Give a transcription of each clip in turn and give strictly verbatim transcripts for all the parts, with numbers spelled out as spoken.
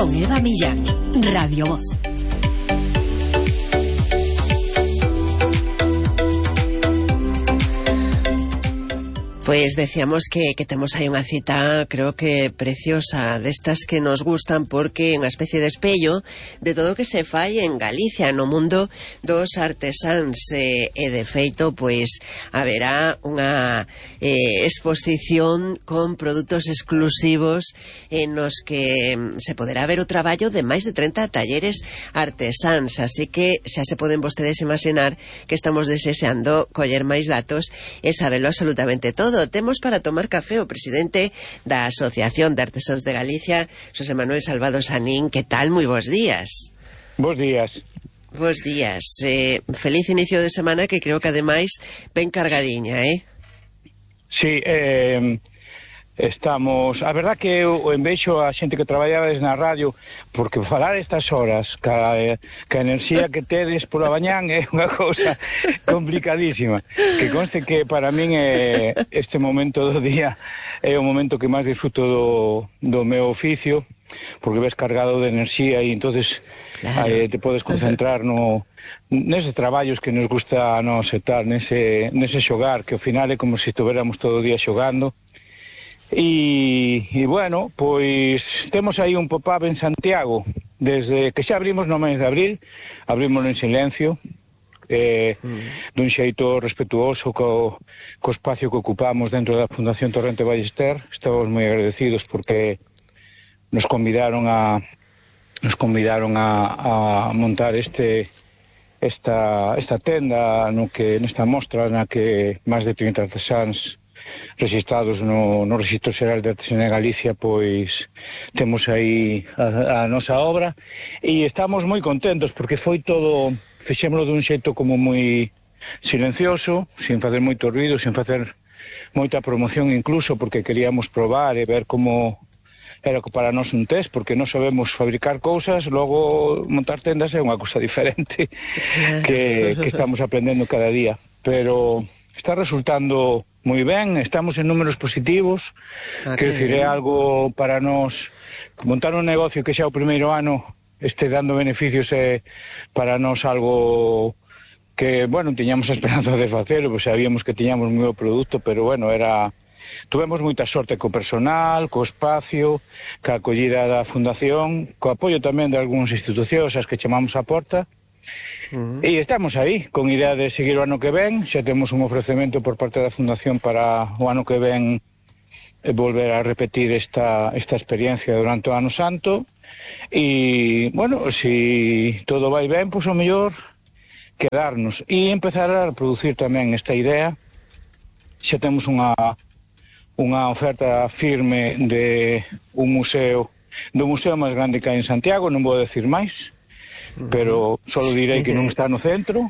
con Eva Millán, Radio Voz. Pues decíamos que, que temos aí unha cita, creo que preciosa, destas que nos gustan, porque é unha especie de espello de todo o que se fai en Galicia, no mundo dos artesáns, e, e de feito, pois, haberá unha eh, exposición con produtos exclusivos en nos que se poderá ver o traballo de máis de trinta talleres artesáns, así que xa se poden vostedes imaginar que estamos deseando coller máis datos e sabelo absolutamente todo. Temos para tomar café o presidente da Asociación de Artesáns de Galicia, Xosé Manuel Salvado Sanín. Que tal? Moi bons días. Bos días. Bos días. Eh, feliz inicio de semana, que creo que ademais ben cargadiña, eh? Sí, eh, estamos... A verdad que eu envexo a xente que traballaba na radio, porque falar estas horas ca, eh, ca enerxía que tedes pola mañán é unha cousa complicadísima. Que conste que para min é, este momento do día é o momento que máis disfruto do, do meu oficio, porque ves cargado de enerxía e entonces claro. eh, te podes concentrar no neses traballos que nos gusta a nos e tal, nese, nese xogar, que ao final é como se estuveramos todo o día xogando. E, e bueno, pois temos aí un pop-up en Santiago desde que xa abrimos no mes de abril, abrimos en silencio, eh, mm. dun xeito respetuoso co, co espacio que ocupamos dentro da Fundación Torrente Ballester. Estamos moi agradecidos porque nos convidaron a nos convidaron a, a montar este esta, esta tenda no que nesta mostra na que máis de trinta artesáns registrados no, no Registro Xeral de Artesanía de Galicia, pois temos aí a, a nosa obra e estamos moi contentos porque foi todo, fixémolo dun xeito como moi silencioso, sin facer moito ruido, sin facer moita promoción incluso, porque queríamos probar e ver como era para nós un test, porque non sabemos fabricar cousas, logo montar tendas é unha cousa diferente que, que estamos aprendendo cada día, pero está resultando moi ben, estamos en números positivos, ah, que decir, é algo para nós, montar un negocio que xa o primeiro ano este dando beneficios é para nós algo que, bueno, tiñamos a esperanza de facelo, pois sabíamos que tiñamos un meu produto, pero bueno, era... Tuvemos moita sorte co personal, co espacio, ca acollida da fundación, co apoio tamén de algúns institucións as que chamamos a porta. Uh-huh. E estamos aí, con idea de seguir o ano que ven. Xa temos un ofrecemento por parte da Fundación para o ano que ven volver a repetir esta, esta experiencia durante o ano santo. E, bueno, se si todo vai ben, pois o mellor quedarnos e empezar a producir tamén esta idea. Xa temos unha, unha oferta firme de un museo, do museo máis grande que hai en Santiago, non vou decir máis, pero só direi que non está no centro,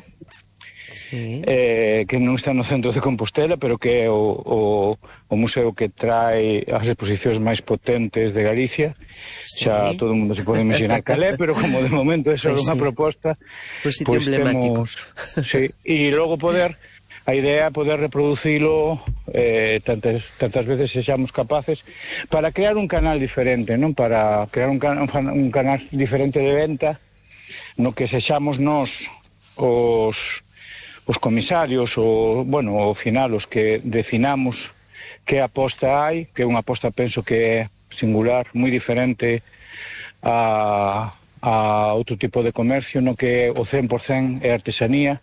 sí. eh, que non está no centro de Compostela, pero que é o, o, o museo que trae as exposicións máis potentes de Galicia. Sí. Xa todo o mundo se pode imaginar cal é, pero como de momento é só pues unha sí. proposta, pues sitio pues emblemático. Temos, sí, e logo poder, a idea é poder reproducilo eh, tantas, tantas veces sexamos capaces para crear un canal diferente, non? Para crear un, can, un canal diferente de venta, no que sexamos nós os, os comisarios, o, bueno, ao final os que definamos que aposta hai, que é unha aposta penso que é singular, moi diferente a, a outro tipo de comercio, no que o cen por cen é artesanía.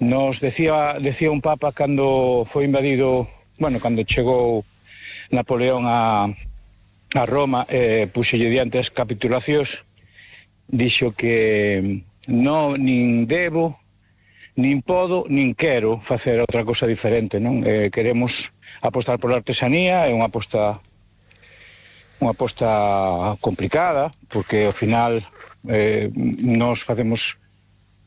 Nos decía, decía un papa cando foi invadido, bueno, cando chegou Napoleón a, a Roma, eh, puxelle diante as capitulacións, dixo que non, nin debo, nin podo, nin quero facer outra cousa diferente, non? Eh, queremos apostar pola artesanía, é unha aposta unha aposta complicada, porque ao final eh, nós facemos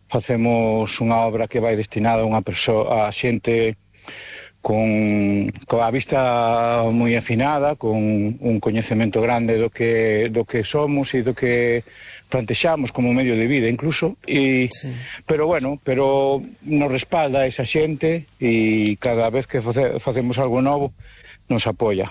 facemos unha obra que vai destinada a unha persoa, a xente con, con a vista moi afinada, con un coñecemento grande do que, do que somos e do que plantexamos como medio de vida incluso, e, sí. pero bueno, pero nos respalda esa xente e cada vez que face, facemos algo novo nos apoia.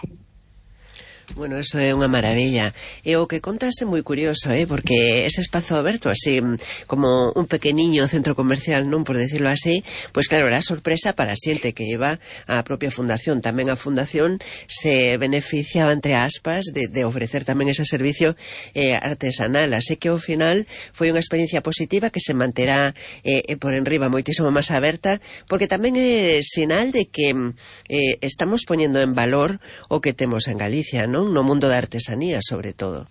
Bueno, eso é unha maravilla. E o que contas é moi curioso, eh? Porque ese espazo aberto, así como un pequeniño centro comercial, non por decirlo así, pois claro, era sorpresa para a xente que iba á propia fundación. Tamén a fundación se beneficiaba, entre aspas, de, de ofrecer tamén ese servicio eh, artesanal. Así que ao final foi unha experiencia positiva que se manterá eh, por enriba moitísimo máis aberta, porque tamén é sinal de que eh, estamos poñendo en valor o que temos en Galicia, non? No mundo da artesanía, sobre todo.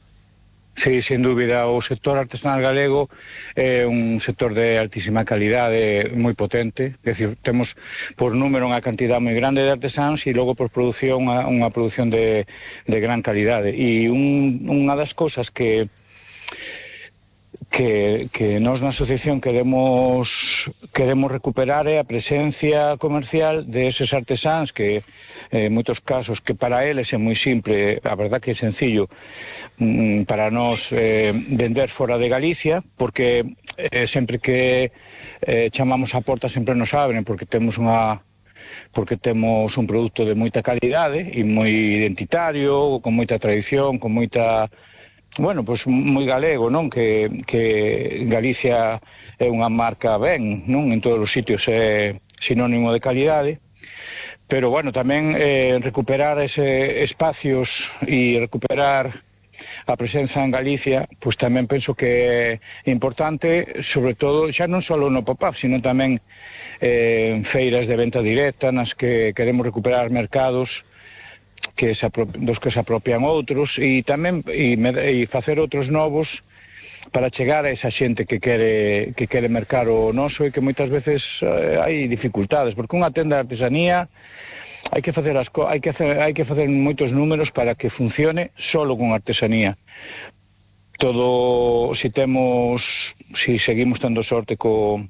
Sí, sin dúbida, o sector artesanal galego é un sector de altísima calidade, moi potente, é dicir, temos por número unha cantidad moi grande de artesáns e logo por produción unha, unha produción de, de gran calidade. E un, unha das cousas que que, que nós na asociación queremos queremos recuperar é a presencia comercial de eses artesáns que en eh, moitos casos que para eles é moi simple, a verdad que é sencillo mm, para nós eh, vender fora de Galicia, porque eh, sempre que eh, chamamos a porta sempre nos abren, porque temos unha porque temos un produto de moita calidade e moi identitario, con moita tradición, con moita bueno, pois moi galego, non? Que, que Galicia é unha marca ben, non? En todos os sitios é sinónimo de calidade, pero, bueno, tamén eh, recuperar ese espacios e recuperar a presenza en Galicia, pois tamén penso que é importante, sobre todo, xa non só no pop-up, sino tamén eh, en feiras de venta directa, nas que queremos recuperar mercados que se dos que se apropian outros e tamén e, e facer outros novos para chegar a esa xente que quere que quere mercar o noso e que moitas veces eh, hai dificultades, porque unha tenda de artesanía hai que facer as co hai que hacer, hai que facer moitos números para que funcione solo con artesanía. Todo, si temos si seguimos tendo sorte co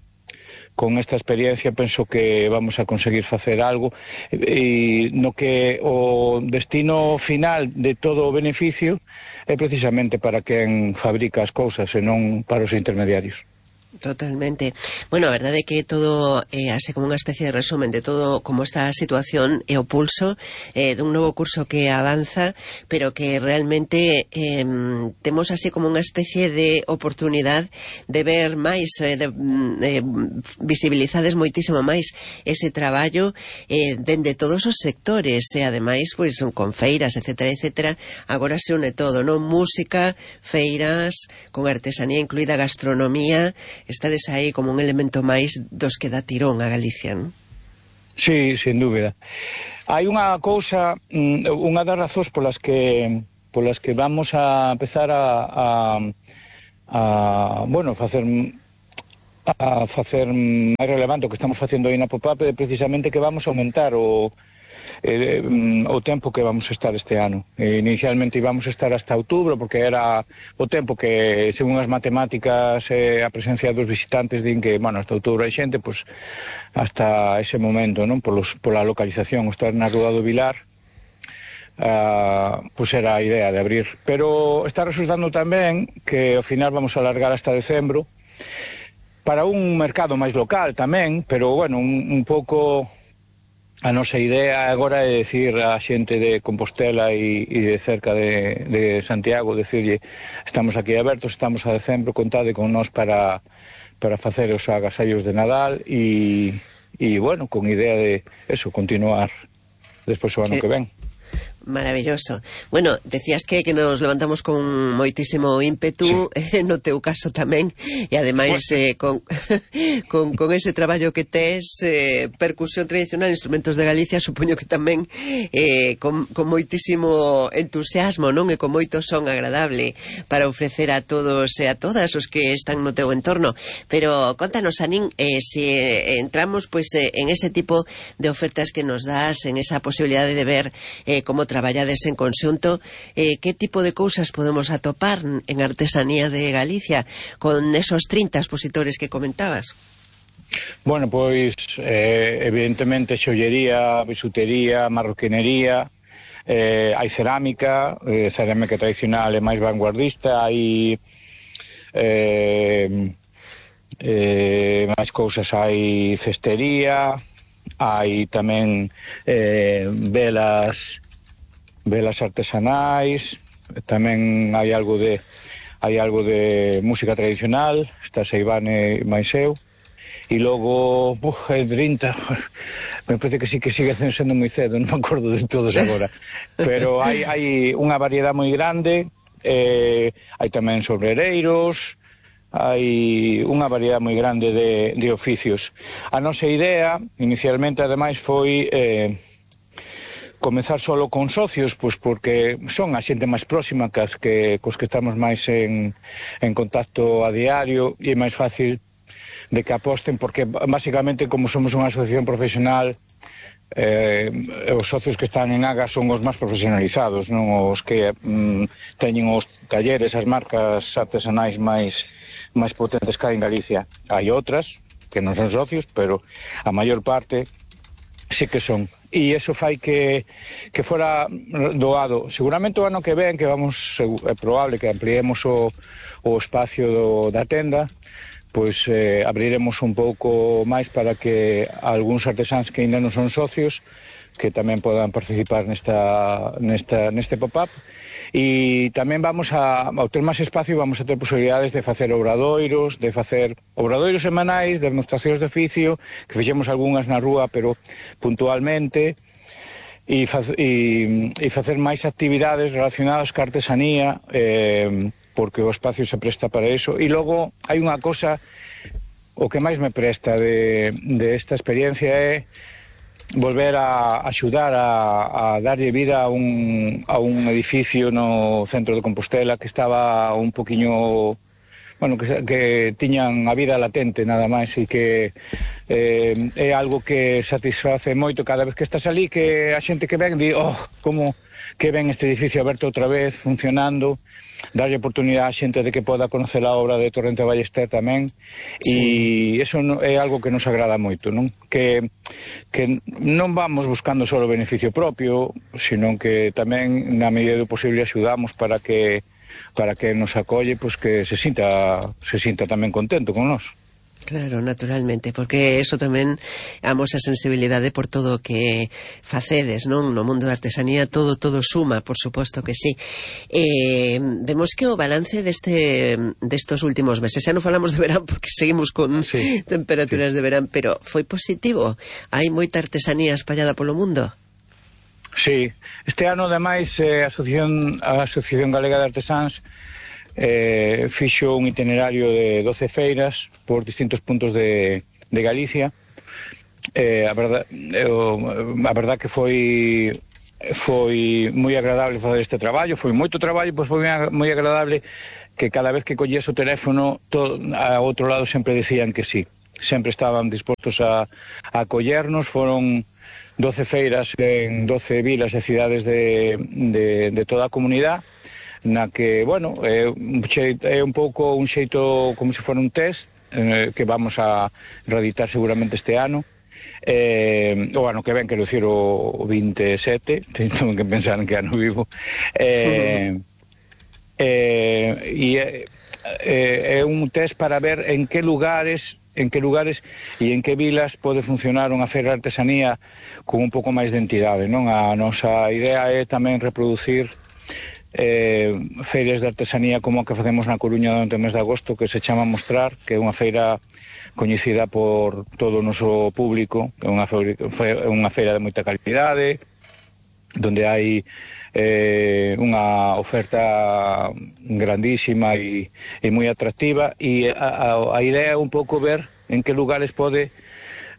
con esta experiencia, penso que vamos a conseguir facer algo e no que o destino final de todo o beneficio é precisamente para quen fabrica as cousas e non para os intermediarios. Totalmente. Bueno, a verdade é que todo é eh, así como unha especie de resumen de todo como está a situación e o pulso eh, dun novo curso que avanza, pero que realmente eh, temos así como unha especie de oportunidade de ver máis, eh, de eh, visibilizades moitísimo máis ese traballo eh, dende todos os sectores e ademais pois con feiras, etcétera, etcétera. Agora se une todo, non? Música, feiras, con artesanía incluída, gastronomía. Estades aí como un elemento máis dos que dá tirón a Galicia, non? Sí, sin dúbida. Hai unha cousa, unha das razóns polas que polas que vamos a empezar a, a, a bueno, facer a facer máis relevante o que estamos facendo aí na pop-up é precisamente que vamos a aumentar o Eh, o tempo que vamos a estar este ano. Eh, inicialmente íbamos a estar hasta outubro, porque era o tempo que, según as matemáticas, eh, a presencia dos visitantes din que, bueno, hasta outubro hai xente, pois hasta ese momento, non? Polos, pola localización, estar na Rúa do Vilar, uh, pois era a idea de abrir. Pero está resultando tamén que ao final vamos a alargar hasta decembro, para un mercado máis local tamén, pero, bueno, un, un pouco... A nosa idea agora é decir a xente de Compostela e, e de cerca de, de Santiago, decirlle, estamos aquí abertos, estamos a decembro, contade con nós para, para facer os agasallos de Nadal e, e, bueno, con idea de eso, continuar despois o ano sí. que ven. Maravilloso. Bueno, decías que, que nos levantamos con moitísimo ímpetu, sí. eh, no teu caso tamén, e ademais eh, con, con, con ese traballo que tes, eh, percusión tradicional, instrumentos de Galicia, supoño que tamén eh, con, con moitísimo entusiasmo, non? E con moito son agradable para ofrecer a todos e a todas os que están no teu entorno. Pero contanos, Anín, eh, se entramos pues, eh, en ese tipo de ofertas que nos das, en esa posibilidade de ver eh, como traballades en conxunto, eh, que tipo de cousas podemos atopar en artesanía de Galicia con esos trinta expositores que comentabas? Bueno, pois eh, evidentemente xollería, bisutería, marroquinería, eh, hai cerámica, eh, cerámica tradicional e máis vanguardista, hai eh, eh, máis cousas, hai cestería, hai tamén eh, velas velas artesanais, tamén hai algo de hai algo de música tradicional, está Seivane máis eu, e logo, uf, é trinta, me parece que sí que sigue sendo moi cedo, non me acordo de todos agora, pero hai, hai unha variedade moi grande, eh, hai tamén sobreireiros, hai unha variedade moi grande de, de oficios. A nosa idea, inicialmente, ademais, foi eh, comezar solo con socios, pois porque son a xente máis próxima que as que, cos que estamos máis en, en contacto a diario, e é máis fácil de que aposten, porque basicamente como somos unha asociación profesional, eh, os socios que están en Agas son os máis profesionalizados, non os que mm, teñen os talleres, as marcas artesanais máis máis potentes que hai en Galicia. Hai outras que non son socios, pero a maior parte sí que son. E iso fai que, que fora doado. Seguramente o ano que ven, que vamos, é probable que ampliemos o, o espacio do, da tenda, pois eh, abriremos un pouco máis para que algúns artesáns que ainda non son socios que tamén podan participar nesta, nesta, neste pop-up. E tamén vamos a, ao ter máis espacio, vamos a ter posibilidades de facer obradoiros, de facer obradoiros semanais, de demostracións de oficio, que fixemos algunhas na rúa, pero puntualmente, e, fa, e, e facer máis actividades relacionadas ca artesanía, eh, porque o espacio se presta para eso. E logo hai unha cosa, o que máis me presta de, de esta experiencia é volver a axudar a, a darlle vida a un, a un edificio no centro de Compostela que estaba un poquinho, bueno, que, que tiñan a vida latente nada máis, e que eh, é algo que satisface moito cada vez que estás ali, que a xente que ven di, oh, como que ven este edificio aberto outra vez, funcionando, darlle oportunidade á xente de que poda conocer a obra de Torrente Ballester tamén, sí. E iso é algo que nos agrada moito, non? Que, que non vamos buscando só o beneficio propio, sino que tamén na medida do posible axudamos para que para que nos acolle, pois que se sinta se sinta tamén contento con nós. Claro, naturalmente, porque eso tamén amosa sensibilidade por todo o que facedes, non? No mundo da artesanía todo todo suma, por suposto que sí. Eh, vemos que o balance deste destos últimos meses, xa non falamos de verán porque seguimos con sí, temperaturas sí. de verán, pero foi positivo. Hai moita artesanía espallada polo mundo. Sí, este ano ademais eh, a Asociación a Asociación Galega de Artesáns Eh, fixo un itinerario de doce feiras por distintos puntos de, de Galicia. eh, a verdad eh, a verdad que foi foi moi agradable facer este traballo, foi moito traballo, pois foi moi agradable que cada vez que collías o teléfono todo, a outro lado sempre decían que sí, sempre estaban dispostos a, a acollernos. Foron doce feiras en doce vilas e cidades de, de, de toda a comunidade, na que, bueno, é un, xeito, é un pouco un xeito como se fora un test eh, que vamos a reeditar seguramente este ano, eh, o ano que ven, quero dicir o, o veintesete, teño que pensar en que ano vivo, eh, eh, e é, é un test para ver en que lugares en que lugares e en que vilas pode funcionar unha feira de artesanía con un pouco máis de entidade, non? A nosa idea é tamén reproducir Eh, feiras de artesanía como a que facemos na Coruña durante o mes de agosto, que se chama Mostrar, que é unha feira coñecida por todo o noso público, é unha feira, unha feira de moita calidade, donde hai eh, unha oferta grandísima e, e moi atractiva, e a, a, a idea é un pouco ver en que lugares pode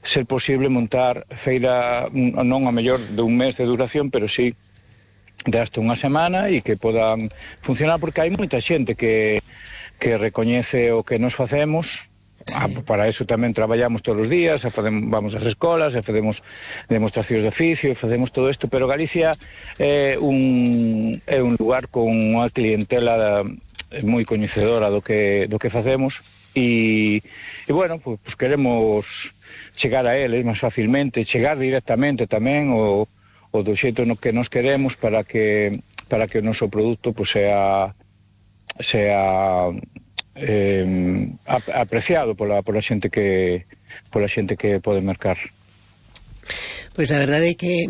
ser posible montar feira, non a mellor de un mes de duración, pero sí de hasta unha semana, e que podan funcionar, porque hai moita xente que, que recoñece o que nos facemos. Sí. Ah, para eso tamén traballamos todos os días, facemos, vamos ás escolas, facemos demostracións de oficio, facemos todo isto, pero Galicia é un, é un lugar con unha clientela moi coñecedora do que, do que facemos, e, e bueno, pues, pues queremos chegar a eles máis facilmente, chegar directamente tamén o o do xeito no que nos queremos, para que para que o noso produto pues, sea sea eh, apreciado pola pola xente que pola xente que pode mercar. Pois a verdade é que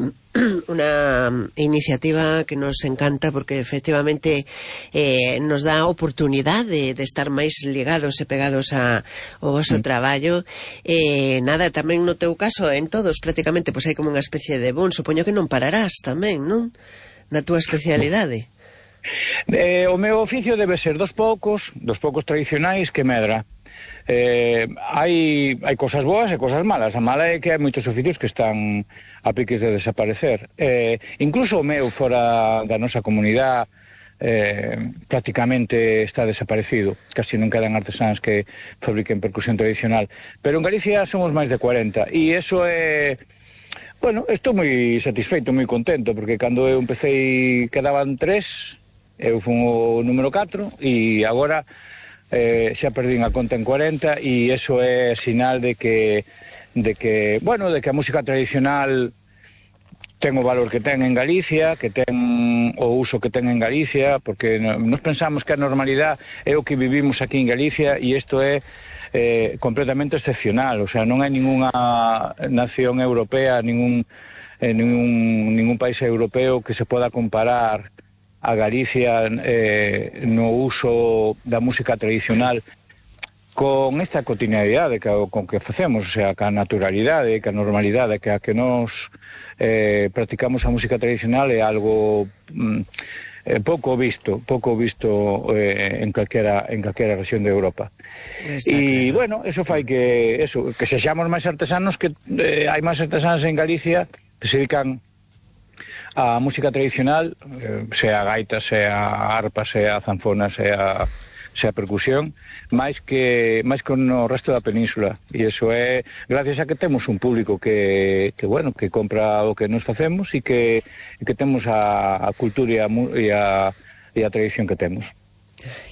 una iniciativa que nos encanta porque efectivamente eh, nos dá a oportunidade de, de estar máis ligados e pegados a, ao vosso mm. traballo. Eh, nada, tamén no teu caso, en todos prácticamente, pois hai como unha especie de boom. Supoño que non pararás tamén, non? Na túa especialidade. Eh, o meu oficio debe ser dos poucos, dos poucos tradicionais que medra. Eh, hai, hai cosas boas e cosas malas. A mala é que hai moitos oficios que están a piques de desaparecer. Eh, incluso o meu fora da nosa comunidade eh, prácticamente está desaparecido. Casi non quedan artesáns que fabriquen percusión tradicional. Pero en Galicia somos máis de cuarenta e eso é... Bueno, estou moi satisfeito, moi contento, porque cando eu empecé quedaban tres, eu fun o número catro e agora eh, xa perdín a conta en cuarenta e eso é sinal de que de que, bueno, de que a música tradicional ten o valor que ten en Galicia, que ten o uso que ten en Galicia, porque nos pensamos que a normalidade é o que vivimos aquí en Galicia e isto é eh, completamente excepcional, o sea, non hai ninguna nación europea, ningún, eh, ningún, ningún país europeo que se poda comparar a Galicia eh, no uso da música tradicional con esta cotidianidade que, con que facemos, o sea, ca naturalidade, ca normalidade, que a que nos eh, practicamos a música tradicional é algo mm, eh, pouco visto, pouco visto eh, en calquera en calquera rexión de Europa. E claro. Bueno, eso fai que eso, que sexamos máis artesanos, que eh, hai máis artesanos en Galicia que se dedican a música tradicional, eh, sea gaita, sea arpa, sea zanfona, sea sea percusión, máis que máis que no resto da península, e iso é gracias a que temos un público que, que bueno, que compra o que nos facemos e que, que temos a, a cultura e a, e, a, e a tradición que temos.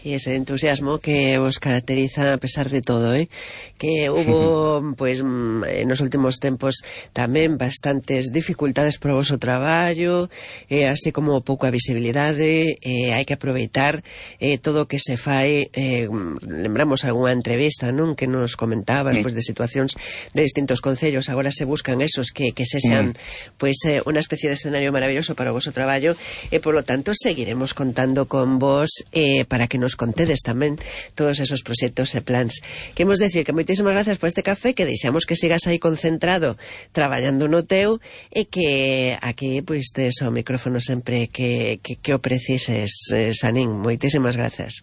E ese entusiasmo que os caracteriza a pesar de todo, eh? Que hubo, pues, nos últimos tempos tamén bastantes dificultades para o vosso traballo, eh, así como pouca visibilidade, eh, hai que aproveitar eh, todo o que se fai. Eh, lembramos algunha entrevista, non? Que nos comentabas, sí. Pues, de situacións de distintos concellos, agora se buscan esos que, que se sean, mm. pues, eh, unha especie de escenario maravilloso para o vosso traballo, e, por lo tanto, seguiremos contando con vos eh, para que nos contedes tamén todos esos proxectos e plans. Queremos decir que moitísimas gracias por este café, que deixamos que sigas aí concentrado traballando no teu e que aquí pois tes o micrófono sempre que, que, que o precises, eh, Sanín. Moitísimas gracias.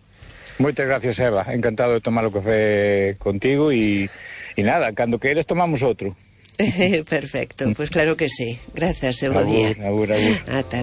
Moitas gracias, Eva. Encantado de tomar o café contigo e, e nada, cando queres tomamos outro. Perfecto, pois pues claro que sí. Gracias, e bo día. Agur, agur, agur. Ata